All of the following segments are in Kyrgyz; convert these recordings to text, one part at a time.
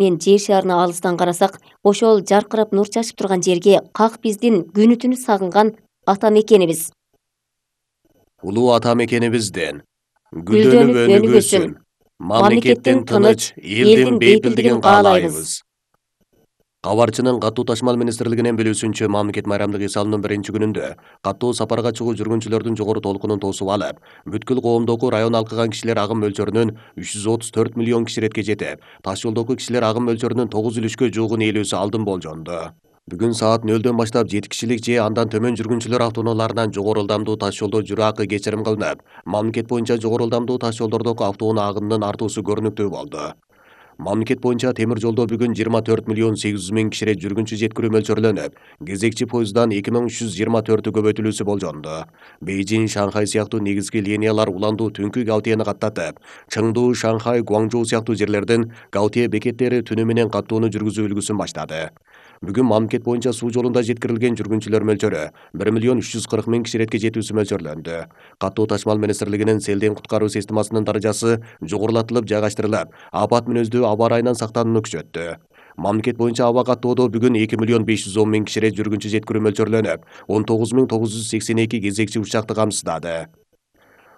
мен жер шарына алыстан карасак, ошол жаркырап нур чачып турган жерге как биздин күнү түнү сагынган ата мекенибиз. Улуу ата мекенибизден Гүлдөнүп өнүгөсүн. мамлекеттин тыныч, элдин бейпилдигин каалайбыз. Кабарчынын каттуу ташмал министрлигинин билүүсүнчө, мамлекет майрамдык эс алуунун биринчи күнүндө каттуу сапарга чыгуу жүргүнчүлөрдүн жогору толкунун тосуп алып, бүткүл коомдогу район алкыган кишилер агым мөлчөрүнүн 334 миллион киши иретке жетип, таш жолдогу кишилер агым мөлчөрүнүн 9,3 жуугун ээлөөсү алдын болжонду. Бүгүн саат 0-дөн баштап 7 кишилик же андан төмөн жүргүнчүлөр автоунааларынан жогору ылдамдуу таш жолдо жүрүү акы кечирим кылынып, мамлекет боюнча жогору ылдамдуу таш жолдордогу автоунаа агымынын артуусу көрүнүктүү болду. Мамлекет боюнча темир жолдо бүгүн 24 миллион 800 миң кишиге жүргүнчү жеткирүү мөлчөрлөнүп, кезекчи поезддан 2324 көбөйтүлүүсү болжонду. Бейжин, Шанхай сыяктуу негизги линиялар уландуу түнкү Гаутияны каттатып, Чыңдуу, Шанхай, Гуаңжоу сыяктуу жерлердин Гаутия бекеттери түнү менен каттууну жүргүзүү үлгүсүн баштады. Бүгүн мамлекет боюнча суу жолунда жеткирилген жүргүнчүлөр мөлчөрү 1 миллион 340 миң киши иретке жетүүсү мөлчөрлөндү. Каттуу ташмал министрлигинин селден куткаруу системасынын даражасы жогорулатылып жайгаштырылып, апат мүнөздүү аба ырайынан сактанууну күчөттү. Мамлекет боюнча аба каттоодо бүгүн 2 миллион 510 миң кишиге жүргүнчү жеткирүү мөлчөрлөнүп, 19.982 кезекчи учакты камсыздады.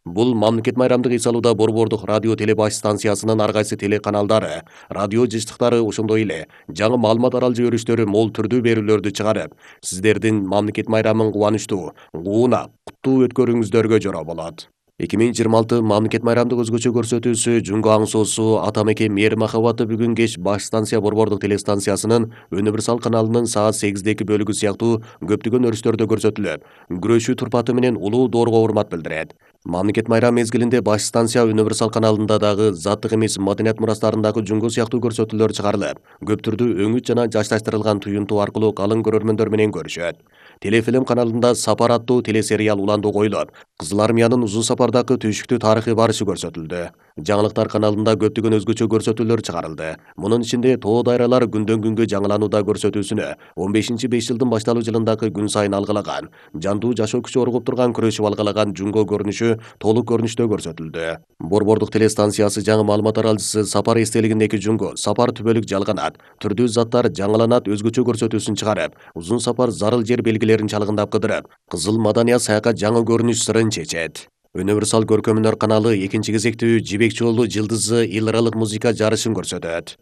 Бул мамлекет майрамдык эс алууда Борбордук радио телебаш станциясынын ар кайсы телеканалдары, радио жыштыктары, ошондой эле жаңы маалымат аралжы өрүштөрү мол түрдүү берүүлөрдү чыгарып, сиздердин мамлекет майрамын кубанычтуу, куунак, куттуу өткөрүүңүздөргө жора болот. 2026 мамлекет майрамдык өзгөчө көрсөтүүсү Жүнгө аң соосу ата мекен мээр махабаты бүгүн кеч баш станция Борбордук телестанциясынын Универсал каналынын саат 8-деки бөлүгү сыяктуу көптөгөн өрүштөрдө көрсөтүлөт, күрөшүү турпаты менен улуу доорго урмат билдирет. Мамлекет майрам мезгилинде баш станция Универсал каналында дагы заттык эмес маданият мурастарындагы Жүнгө сыяктуу көрсөтүүлөр чыгарылып, көп түрдүү өңүт жана жашташтырылган туюнтуу аркылуу калың көрөрмөндөр менен көрүшөт. Телефилм каналында Сапар аттуу телесериал уландуу коюлуп, Кызыл армиянын узун сапардагы түйшүктүү тарыхый барышы көрсөтүлдү. Жаңылыктар каналында көптөгөн өзгөчө көрсөтүүлөр чыгарылды. Мунун ичинде Тоо дайралар күндөн күнгө жаңыланууда көрсөтүүсүнө 15-5 жылдын башталуу жылындагы күн сайын алгылаган, жандуу жашоо күчү оргуп турган күрөшүп алгылаган Жүнгө көрүнүшү толук көрүнүштө көрсөтүлдү. Борбордук телестанциясы жаңы маалымат аралжысы Сапар эстелигиндеки Жүнгө, Сапар түбөлүк жалганат, түрдүү заттар жаңыланат өзгөчө көрсөтүүсүн чыгарып, Узун сапар зарыл жер белгилерин чалгындап кыдырып, кызыл маданият саякат жаңы көрүнүш сырын чечет. Универсал көркөмүнөр каналы экинчи кезектүү Жибек жолу жылдызы эл-аралык музыка жарышын көрсөтөт.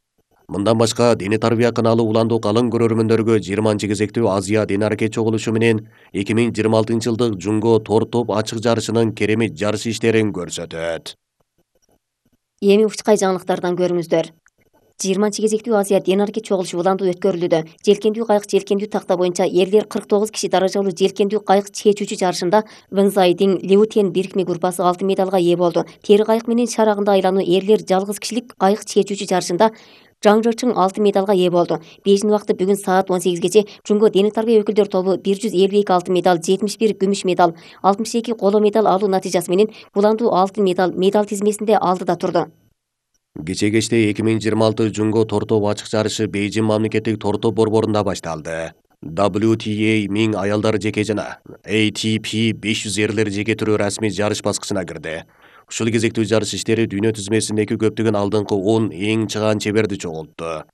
Мындан башка Дене тарбия каналы уландуу калың көрөрмөндөргө 20 кезектүү Азия дене аракет чогулушу менен 2026 жылдык Жүнгө тор топ ачык жарышынын керемет жарыш иштерин көрсөтөт. Эми учкай жаңылыктардан көрүңүздөр. 20 кезектүү Азия дене аракет чогулушу уландуу өткөрүлүүдө. Желкендүү кайык желкендүү такта боюнча эрлер 49 киши даражалуу желкендүү кайык чечүүчү жарышында Вэнзайдин Леутен бирикме группасы алтын медалга ээ болду. Тери кайык менен шарагында айлануу эрлер жалгыз кишилик кайык чечүүчү жарышында Жаңжочуң алтын медалга ээ болду. Бейжин убакыты бүгүн саат 18-гече Жүнгө дене тарбия өкүлдөр тобу 152 алтын медал, 71 күмүш медал, 62 коло медал алуу натыйжасы менен буландуу алтын медал тизмесинде алдыда турду. Кече кечте 2026 Жүнгө тортоп ачык жарышы Бейжин мамлекеттик тортоп борборунда башталды. WTA 1000 аялдар жеке жана ATP 500 эрлер жеке түрөө расмий жарыш баскычына кирди. Ушул кезектүү жарыш иштери дүйнө тизмесиндеги көптөгөн алдыңкы 10 эң чыгаан чеберди чогултту.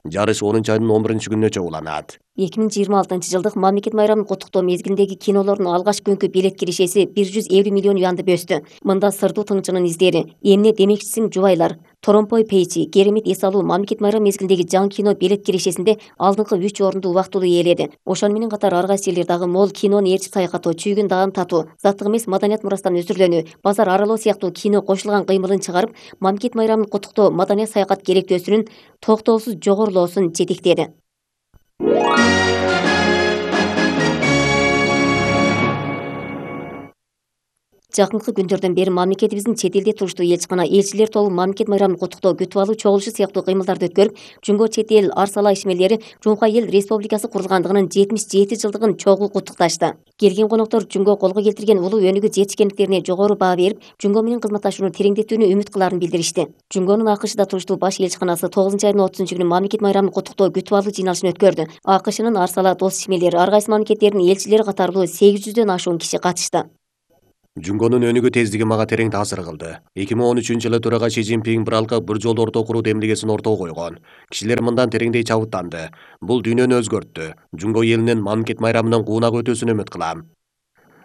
Жарыш 10 айдын 11 күнүнө чогуланат. 2026 жылдык мамлекет майрамын куттуктоо мезгилиндеги кинолордун алгачкы күнкү билет киришеси 150 миллион юанды бөстү. Мында Сырдуу тыңчынын издери, Эмне демекчисиң жубайлар, Торомпой Пейчи, Керемет эс алуу мамлекет майрам мезгилиндеги жаңы кино билет киришесинде алдыңкы 3 орунду убактылуу ээледи. Ошону менен катар ар кайсы элдер дагы мол кинону ээрчип саякаттоо, чүйгүн даан татуу, заттык эмес маданият мурастан өзүрлөнүү, базар аралоо сыяктуу кино кошулган кыймылын чыгарып, мамлекет майрамын куттуктоо маданият саякат керектөөсүнүн токтоосуз жогорулоосун жетектеди. Жакынкы күндөрдөн бери мамлекетибиздин чет элде туруштуу элчикана элчилер тобу мамлекет майрамын куттуктоо, күтүп алуу чогулушу сыяктуу кыймылдарды өткөрүп, Жүнгө чет эл арсала ишмерлери Жумка эл республикасы курулгандыгынын 77 жылдыгын чогуу куттукташты. Келген коноктор Жүнгө колго келтирген улуу өнүгүү жетишкендиктерине жогору баа берип, Жүнгө менен кызматташууну тереңдетүүнү үмүт кылаарын билдиришти. Жүнгөнүн АКШда туруштуу баш элчиканасы 9 айдын 30 күнү мамлекет майрамын куттуктоо, күтүп алуу жыйналышын өткөрдү. АКШнын арсала дос ишмерлери, ар кайсы мамлекеттердин элчилери катарлуу 800дөн ашуун киши катышты. Жунгонун өнүгүү тездиги мага терең таасир кылды. 2013-жылы төрага Ши Цзиньпин bir жол орто куруу демилгесин ортого койгон. Кишилер мындан тереңдей чабыттанды. Бул дүйнөнү өзгөрттү. Жунго элинин мамлекет майрамынын куунак өтүүсүн үмүт кылам.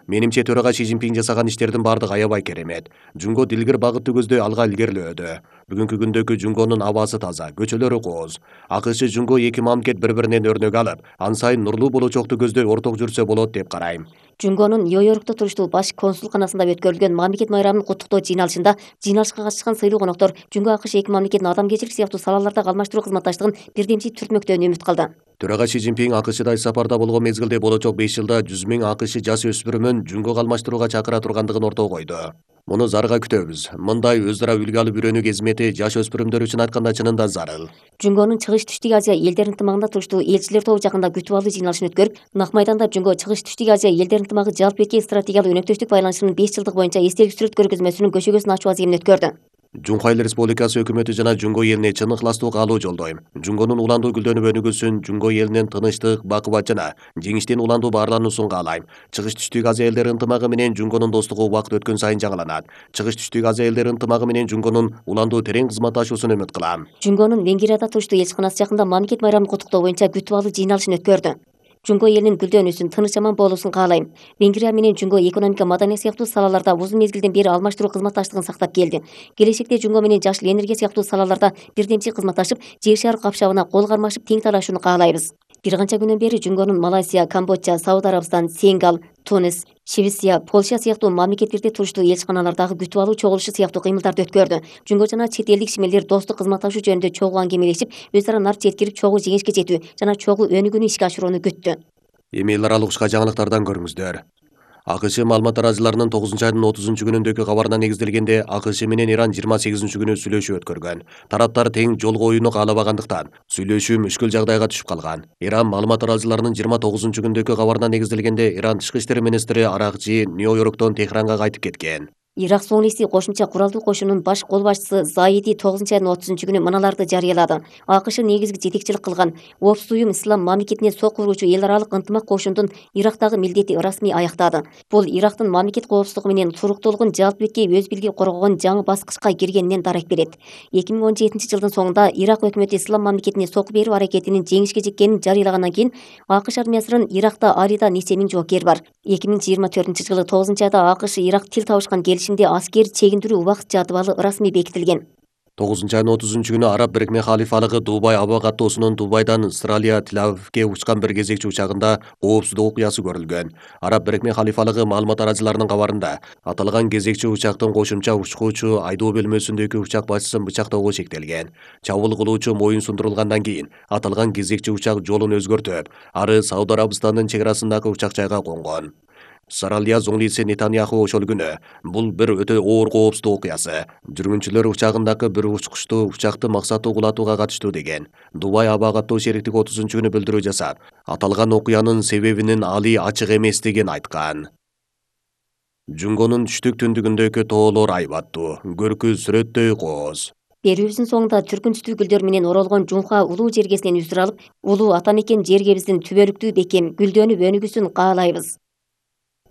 Менимче төрага Ши Цзиньпин жасаган иштердин бардыгы аябай керемет. Жунго дилгир багытты көздөй алга илгерилөөдө. Бүгүнкү күндөгү Жунгонун абасы таза, көчөлөрү кооз. АКШ Жунго эки мамлекет бири-биринен өрнөк алып, ан сайын нурлуу болочокту көздөй орток жүрсө болот деп карайм. Жунгонун Нью-Йоркто туруштуу баш консулканасында өткөрүлгөн мамлекет майрамын куттуктоо жыйналышында жыйналышка катышкан сыйлуу коноктор Жунго АКШ эки мамлекеттин адамгерчилик сыяктуу салалардагы алмаштыруу кызматташтыгын бирдемчи түртмөктөөнү үмүт кылды. Төрага Ши Цзиньпин АКШда иш сапарда болгон мезгилде болочок 5 жылда 100 000 АКШ жаш өспүрүмүн Жунгого алмаштырууга чакыра тургандыгын ортого койду. Муну зарга күтөбүз. Мындай өз ара үлгү алып үйрөнүү кызмети жаш өспүрүмдөр үчүн айтканда чынында зарыл. Жунгонун Чыгыш Түштүк Азия элдер ынтымагында туруштуу элчилер тобу жакында күтүп алуу жыйналышын өткөрүп, Нак майданда Жунго Чыгыш Түштүк Азия элдер ынтымагы жалпы эркек стратегиялык өнөктөштүк байланышынын 5 жылдык боюнча эстелик сүрөт көргөзмөсүнүн көшөгөсүн ачуу аземин өткөрдү. Жунхай Эл Республикасы өкмөтү жана Жунго элине чын ыхластуу каалоо жолдойм. Жунгонун уландуу гүлдөнүп өнүгүүсүн, Жунго элинин тынычтык, бакубат жана жеңиштен уландуу баарлануусун каалайм. Чыгыш Түштүк Азия элдер ынтымагы менен Жунгонун достугу убакыт өткөн сайын жаңыланат. Чыгыш Түштүк Азия элдер ынтымагы менен Жунгонун уландуу терең кызматташуусун үмүт кылам. Жунгонун Венгрияда туруштуу элчиканасы жакында мамлекет майрамын куттуктоо боюнча күтүп алуу жыйналышын өткөрдү. Жунго элинин гүлдөнүүсүн, тыныч аман болуусун каалайм. Венгрия менен Жунго экономика, маданият сыяктуу салаларда узун мезгилден бери алмаштыруу кызматташтыгын сактап келди. Келечекте Жунго менен жашыл энергия сыяктуу салаларда бирдемчи кызматташып, Жер шары капшабына кол кармашып тең талашууну каалайбыз. Бир канча күндөн бери Жунгонун Малайзия, Камбоджа, Сауд Арабстан, Сенегал, Тунис, Швеция, Польша сыяктуу мамлекеттерде туруштуу элчиканалардагы күтүп алуу чогулушу сыяктуу кыймылдарды өткөрдү. Жунго жана чет элдик ишмерлер достук кызматташуу жөнүндө чогуу аңгемелешип, өз ара нар жеткирип чогуу жеңишке жетүү жана чогуу өнүгүүнү ишке ашырууну күттү. Эми эл аралык ушка жаңылыктардан көрүңүздөр. АКШ маалымат тараачыларынын 9-айдын 30-күнүндөгү кабарына негизделгенде АКШ менен Иран 28-күнү сүйлөшүү өткөргөн. Тараптар тең жол коюуну каалабагандыктан сүйлөшүү мүшкүл жагдайга түшүп калган. Иран маалымат тараачыларынын 29-күндөгү кабарына негизделгенде Иран тышкы иштер министри Аракчи Нью-Йорктон Техранга кайтып кеткен. Ирак соңлиси кошумча куралдуу кошунунун баш кол башчысы Заиди 9-айдын 30-күнү мыналарды жарыялады. АКШ негизги жетекчилик кылган Коопсуз уюм ислам мамлекетине сок уруучу эл аралык ынтымак кошундун Ирактагы милдети расмий аяктады. Бул Ирактын мамлекет коопсуздугу менен туруктуулугун жалпы беткей өз бийлиги коргогон жаңы баскычка киргенинен дарек берет. 2017-жылдын соңунда Ирак өкмөтү ислам мамлекетине сок берүү аракетинин жеңишке жеткенин жарыялагандан кийин АКШ армиясынын Иракта Арида нече миң жоокери бар. 2024-жылы 9-айда АКШ Ирак тил табышкан келишимде аскер чегиндирүү убакыт жадыбалы расмий бекитилген. 9-айдын 30-күнү Араб Бирикме Халифалыгы Дубай аба каттоосунун Дубайдан Австралия Тель-Авивге учкан бир кезекчи учагында коопсуздук окуясы көрүлгөн. Араб Бирикме Халифалыгы маалымат тараачыларынын кабарында аталган кезекчи учактын кошумча учкуучу айдоо бөлмөсүндөгү учак башчысын бычактоого чектелген. Чабуул кылуучу моюн сундурулгандан кийин аталган кезекчи учак жолун өзгөртүп, ары Сауд Арабстандын чек арасындагы учак жайга конгон. Саралия зоңлиси Нетаньяху ошол күнү бул бир өтө оор коопсуздук окуясы. Жүргүнчүлөр учагындагы бир учкучту учакты максаттуу кулатууга катыштуу деген. Дубай аба каттоо шериктиги 30-күнү билдирүү жасап, аталган окуянын себебинин али ачык эместигин айткан. Жунгонун түштүк түндүгүндөгү тоолор айбаттуу, көркү сүрөттөй кооз. Берүүбүздүн соңунда түркүн-түстүү гүлдөр менен оролгон Жунха улуу жергесинен үзүр алып, улуу ата мекен жергебиздин түбөлүктүү бекем гүлдөнүп өнүгүүсүн каалайбыз.